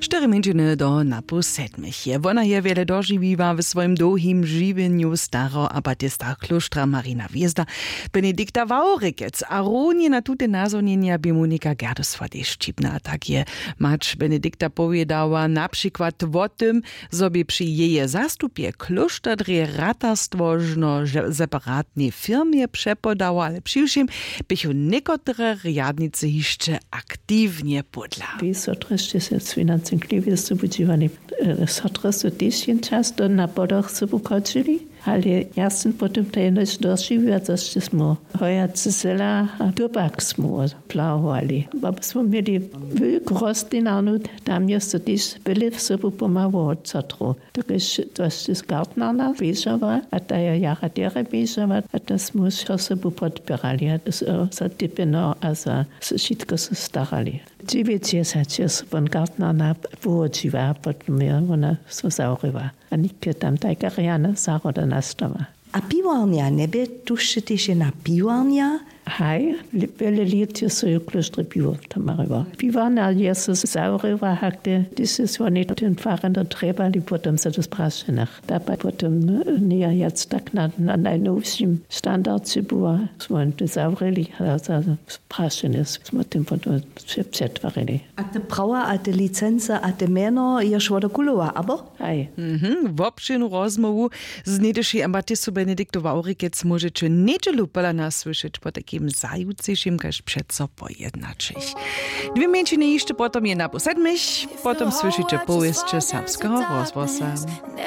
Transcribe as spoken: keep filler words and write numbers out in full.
Štyri mjeńšiny do napoł sedmich je wona je wjele dožiwiła w swojim dołhim žiwjenju staro a batista klóštra marina hwězda, benedikta wawrikec a runje na tute nazhonjenja bě monika gerdu swodej šćipna a tak je mać benedikta powědała na přikład wo tym, zo bě při jeje zastupje klóšter drje ratarstwo žno separatnej firmje přepodało ale přiwšěm běchu někotre rjadnicy hišće aktiwnje pódla. Wy so drježće se swinancen kliwje su wudźiwani. Sotre su tež jen často na podach sobu chodźili, ale ja sym potom to jenož dožiwiła zo sće smy hojace sela a tubak smy plahowali. Bo smy měli wulku rostlinarnu, tam je so tež byle sobu pomału od sotrow. Dokelž to sće z gartnarna běžała a ta je jara derje běžała a to smy wšo sobu podpěrali a so typjeno a za wšitko so starali. Dźewjećdźesać je so won gartnarna połodźiła a potom je wona so zawrěła. A nětke tam tajka rjana zahroda nastała. A piwarnja njebě tuž tež jedna piwarnja? Haj, wjele lět je so jo klóštre piwo tamariło. Piwarnja je so zawrěła hakle hdyž se swoni tym farjeno trjebali potom so do sprašenach da pa potom njeja wjac tak na najnowšim standardźe była. Smy to zawrěli a za prašenje smy tym potom přetwarili. A te prawa a te licency a te mjeno ješ wodokulowa abo? Haj. Wobšěrnu rozmołwu z něhdyšej ambatistu benediktu wawrikec móžeće njedźelu pola nas słyšeć potajkim zajucejšim kaž přeco po jednaćich. Dwě mjeńšiny hišće potom jedna po sedmich. Potom słyšeće powěsće serbskeho rozhłosa.